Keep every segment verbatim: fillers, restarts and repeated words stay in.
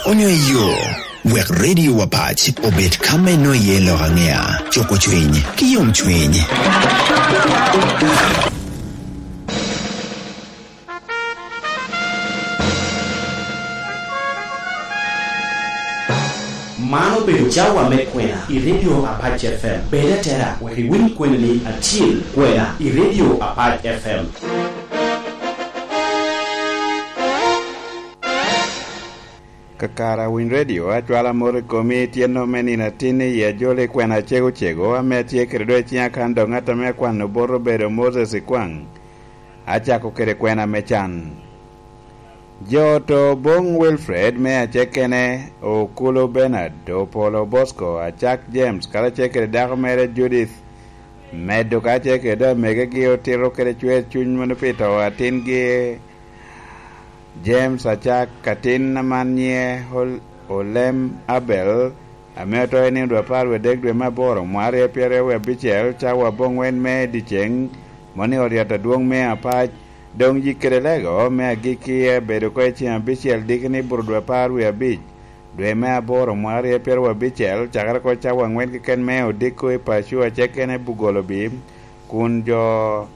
onyo i yo, wek Radio Wapac obed ka me nwoŋo iye lok aŋea, cuko cwiny, ki yomcwiny. Man obedo cawa me kwena i Radio Apac F M. Bed atera wek iwiny kweni ni atyel kwena i Radio Apac F M. Kakare a winy redio, acwalo amot i komi i tyeno me nino atin i ajoli kwena acego cego ame atye kede do i ciŋa kan dok ŋat ame akwano bot obedo Moses Ikwaŋ. Acako kede kwena me can. Jo oto Bong Wilfred me acekene, Okulu Bernard, Opolo Bosco, Acak James, karacel kede dako mere Judith, medo karacel kede amegegi otito kede cwer cuny mono pi to atingi James Acak, atin aman nyiŋe Ol-, Olem Abel, ame oto i nino dwe apar wie adek dwe me aboro, mwaka aryo pyeraryo wie abicel, cawa aboŋwen me dyeceŋ, moni oryet adwoŋ me apac. Doŋ yik kede lego me agikki abedo oko i ceŋ abicel diki ni buto dwe apar wie abic, dwe me aboro, mwaka aryo pyeraryo abicel, cakere oko cawa aŋwen keken me odiko i paco acekene Bugolobi, kun jo,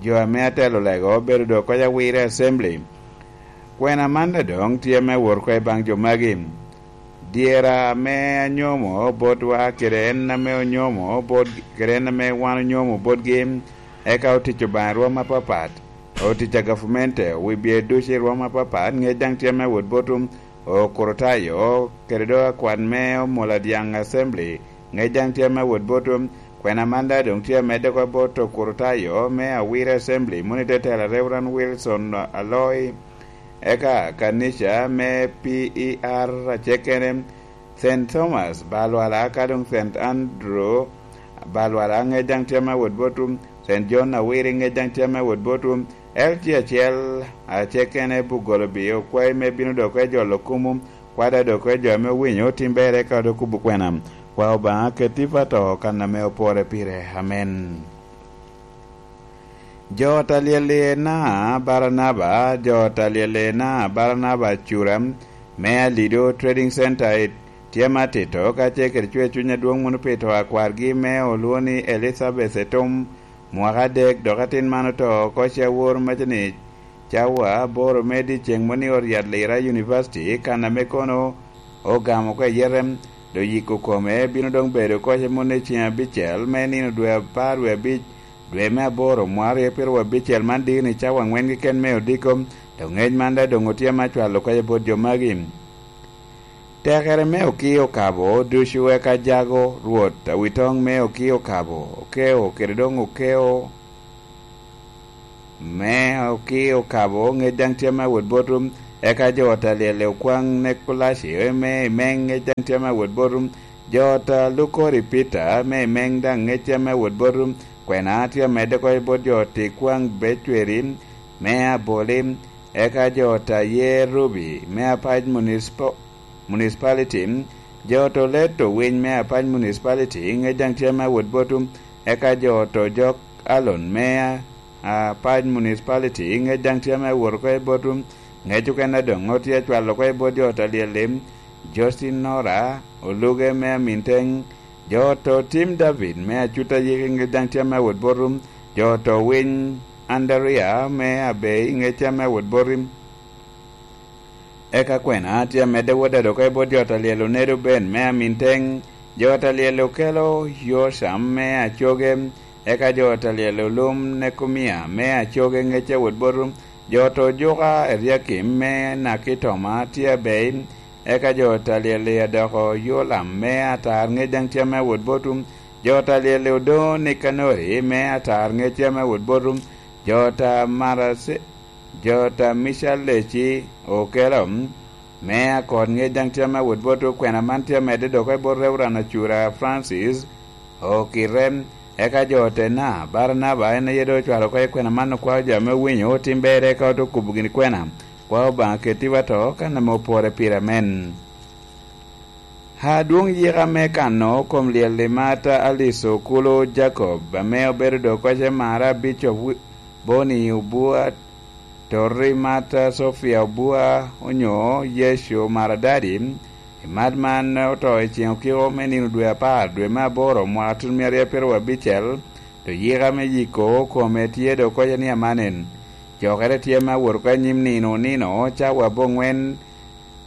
jo ame atelo lego obedo dok oko i Awire Assembly. Kwena man daŋ doŋ tye me wot oko i baŋ jo magi. Dyera ame anyomo botwa kede en ame onyomo bot, kede en ame wan onyomo botgi, eka otic Obaŋa i rwom apapat, otic a gavumenti, wi bye ducu i rwom apapat, ŋec daŋ tye me wot botwu, Okorotayo, kede do akwan me Omoladyaŋ Assembly, ŋec daŋ tye me wot botwu. Kwena man daŋ doŋ tye amedde oko bot Okorotayo me Awire Assembly, moni te tela Reverend Wilson Aloi. Eka kanica me P E R acekene, Saint Thomas Balwala, ka doŋ Saint Andrew Balwala, ŋec daŋ tye me wot botwu, Saint John Awiri, ŋec daŋ tye me wot botwu, L G acel acekene Bugolobi, okwayi me bino dok oko i jolo kumu, kwada dok oko i jo ame owinyo tim ber eka odo kubo kwena. Kwa Obaŋa ketti pa to kan ame opore pire. Amen. Jo ot a lyel-li na Baranaba, jo ot a lyel-li na Baranaba Cura me Alido Trading Center i tye me atito, ka ce kede cwer cuny adwoŋ mono pi to a kwargi me olwoŋo ni Elizabeth Etum, mwaka adek, dok atin man oto oko ce awor maca ni cawa aboro me dyeceŋ mono ni oryat Lira University, kan ame kono ogamo oko i yete, do yiko kome bino doŋ bedo oko ce mono i ceŋ abicel me nino dwe apar wie abic, dwe me aboro, mwaka aryo pyeraryo abicel man diki ni cawa aŋwen keken me odiko, dok ŋec man daŋ doŋ otye me acwalo oko ce bot jo magi. Tekere me okio okabo ducu eka jago Rwot awitoŋ me okio okabo, okeo kede doŋ okeo me okio okabo, ŋec daŋ tye me awot botwu, eka jo ot a lyel i okwaŋ Nekulaci me i meŋ, ŋec daŋ tye me awot botwu, jo ot a Lukori Pita me i meŋ daŋ ŋec tye me awot botwu, kwena tye amedde oko i bot jo ot i kwaŋ Becweri me Aboli, eka jo ot a Yerubi me apac municipo-, municipality, jo ot Oleto Winy me apac municipality, ŋec daŋ tye me awot botwu, eka jo ot Ojok Alon me a-, apac municipality, ŋec daŋ tye me awot oko i botwu, ŋec okene doŋ otye acwalo oko i bot jo ot a lyel-li, Justin Nora, Oluge me Aminteng, jo ot Tim David me Acuta Yiki, ŋec daŋ tye me awot botwu, jo ot Winy Andaria me Abei, ŋec tye me awot botwu. Eka kwena tye amedde wot dado oko i bot jo ot a lyel Onedo Ben me Aminteng, jo ot a lyel Okelo Yocam me Acoge, eka jo ot a lyel Olum Nekumia me Acoge, ŋec tye awot botwu, jo ot Ojuka Eriakim me Nakitoma tye Abei, eka jo ot a lyel Adoko Yolam me Atar, ŋec daŋ tye me awot botwu, jo ot a lyel Odoŋo Nikanori me Atar, ŋec tye me awot botwu, jo ot a Marase-, jo ot a Mical Leci Okelo me Akot, ŋec daŋ tye me awot botwu, kwena man tye amedde dok oko i bot Reverend Acura Francis Okite, eka jo ot Ena Baranaba, en aye doŋ ocwalo oko i kwena man, okwao jo ame owinyo otim ber, eka ote okubo gini kwena, kwao Obaŋa ketti wa to, kan ame opore pire. Amen. Adwoŋ yika me kano kom lyel i Marta Alice Okulu Jacob, ame obedo dok oko ce Mara Bishop Wi-, Boni Obua Tori mat Sofia Obua onyo Yecu Maradadi, i mat man oto i ceŋ okiko me nino dwe apar, dwe me aboro, mwaka tun mia aryo pyeraryo abicel, to yika me yiko kome tye dok koca ni amanen. Cokere tye me awot oko anyim nino nino, cawa abongwen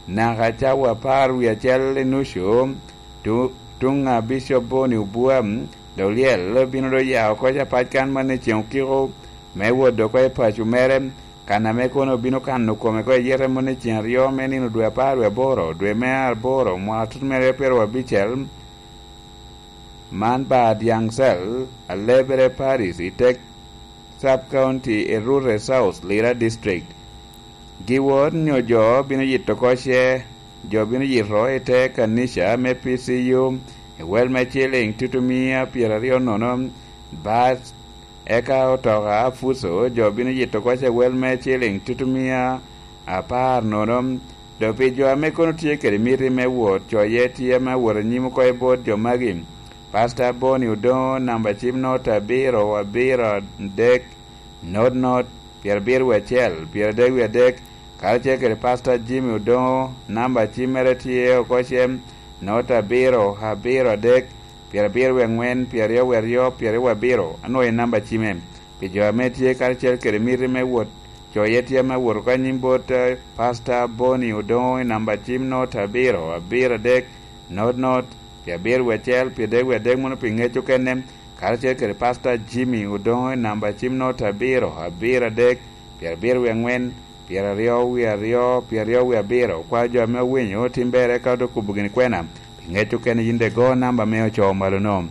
naka cawa apar wie acel i nucu, tu-, tuŋ a Bicop Boni Obua, dok lyel bino dok ya oko capac kan man i ceŋ okiko me wot oko i paco mere, kan ame kono obino kano kome oko i yete moni i ceŋ aryo me nino dwe apar wie aboro, dwe me aboro, mwaka tut me aryo pyeraryo abicel. Man Bad Yaŋcel, Alebere Paris, i tek Sub County i Rure South, Lira District. Giwot nyo jo bino yito oko ce, jo bino yito i te kanica me P C U, i wel me ciliŋ tutumia pyeraryo nono, bat, eka otoka apuco, jo bino yito oko ce wel me ciliŋ tutumia apar nono. Dok pi jo ame kono tye kede miti me wot, coye tye ame awot anyim oko i bot jo magi. Pasta Boni Odoŋo, namba cim not abiro, abiro adek, not, not, pyerabiro wie acel, pyeradek wie adek, karacel kede Pasta Jimmy Odoŋo, namba cimmere tye oko cem, not abiro, abiro adek, pyerabiro wie aŋwen, pyeraryo wie aryo, pyeraryo wie abiro, anwoŋo en namba cimme. Pi jo ame tye karacel kede miti me wot, coye tye ame awot oko anyim bot, eh, Pasta Boni Odoŋo i namba cim not abiro, abiro adek, not, not, pyerabiro wie acel, pyerabiro wie adek, mono pi ŋec okene, karacel kede Pasta Jimmy Odoŋo i namba cim not abiro, abiro adek, pyerabiro wie aŋwen, pyeraryo wie aryo, pyeraryo wie abiro. Okwayo jo ame owinyo tim ber eka ote kobo gini kwena. Pi ŋec okene yin de go namba ame ocoo malo-no.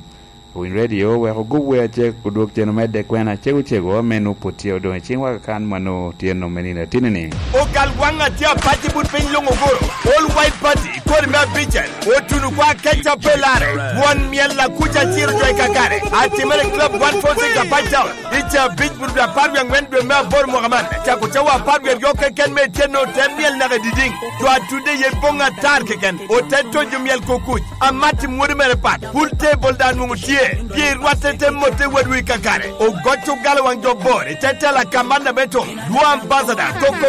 Owiny Radio wek ogub wer acek odwog cen omedde kwena cego cego ame nwoŋo pwod tye odoŋ i ciŋwa kakan ma nwoŋo tye nwoŋo me nino atini-ni. Ogal waŋ atye apac i but piny luŋ oguro. All White Party, kodi me abicel, otuno kwa keca pe lare. Won myel akuca ciro jo i kakare. Atimere Club one forty-six Apac Town. I ca abic but apar wie aŋwen dwe me aboro mwaka man. Cako cawa apar wie aryo keken me ityen ote myel naka i didiŋ. Jo atudde ye boŋ atar keken. Ote tonyo myel kukuc. Amat i mwodi mere pat. Pul table daŋ nwoŋo tye. Pye rwatte te motte wadwu i kakare. Ogoc ogalo waŋ jo bor. I te tela kamanna me toŋ. Dwo ambassador. Koko